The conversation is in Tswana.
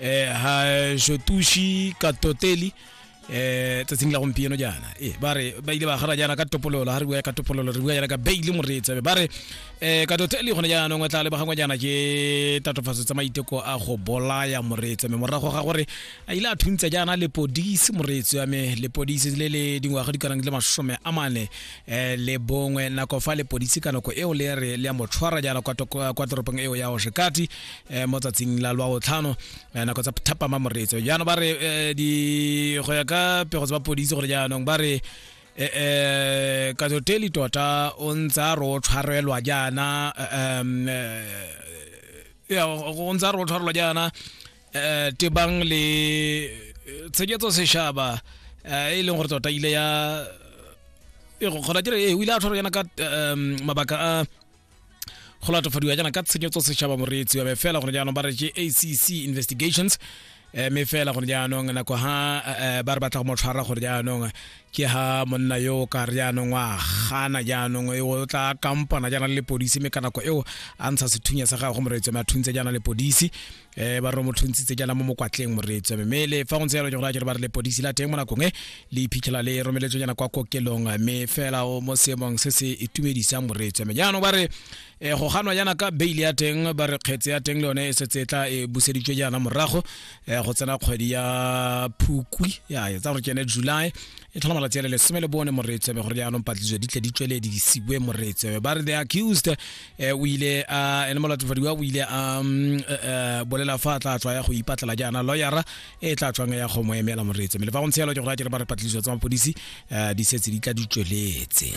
Ha Shotushi Katoteli tsatsing la gompieno jaana e ba re ba ile ba gana jaana ka topololo. Ha re bua ka topololo, re bua jaana ka bail, moreetsi. Ba re Katoteli gone jaanong o tla lebagangwa jaana ke tatofatso tsa maiteko a go bolaya, moreetsi, mme morago ga gore a ile a thuntsa jaana lepodisi, moreetsi wa me, lepodisi le le dingwaga di kanang le 41 nako fa lepodisi ka nako eo le re le ya mo tshwara jaana kwa toropong eo ya Oshakati mo tsatsing la lwa botlhano nako tsa thapama, moreetsi. Jaanong ba re di go ya ka pego tsa mapodisi gore jaanong ba re Katoteli tota o ntse a re o tshwarelwa jaana ya o ntse a re o tshwarelwa jaana tebang le tshegetso sešaba e leng gore tota ile ya e go kgona kere o ile a tshwarwa jaana ka mabaka a go latofadiwa jaana ka tshenyetso setšhaba, moreetsi wa me. Fela gone jaanong ba re ke ACC investigations, mme fela gone jaanong nako ha ba re batla go mo tshwara gore jaanong ke ha monna yo ka re jaanong wa gana, jaanong o tla kampana jaana le lepodisi, mme ka nako eo a ntsha sethunya sa gagwe, moreetsi wa me, a thuntse jaana lepodisi. Ba re mo thuntshitse jaana mo mokwatleng, moreetsi wa me. Mme le fa go ntse jalo, ke gore a kere ba re lepodisi la teng mo nakong e le iphitlhela le romeletswe jaana kwa kokelong, mme fela o mo seemong se se itumedisang, moreetsi wa me. Jaanong ba re go ganwa jaana ka bail ya teng, ba re kgetse ya teng le yone e setse e tla e buseditswe jaana morago go tsena kgwedi ya Phukwi ya e tsa gore ke ene July e tlhola malatsi a le 14, moreetsi wa me, gore jaanong patlisiso di tle di tsweledisiwe, moreetsi wa me. Ba re the accused o ile a ene molatofadiwa o ile a bolela fa a tla tswa ya go ipatlela jaana lawyera e tla tswang ya go mo emela, moreetsi. Mme le fa go ntse jalo, ke gore a kere ba re patlisiso tsa mapodisi di setse di tla di tsweletse.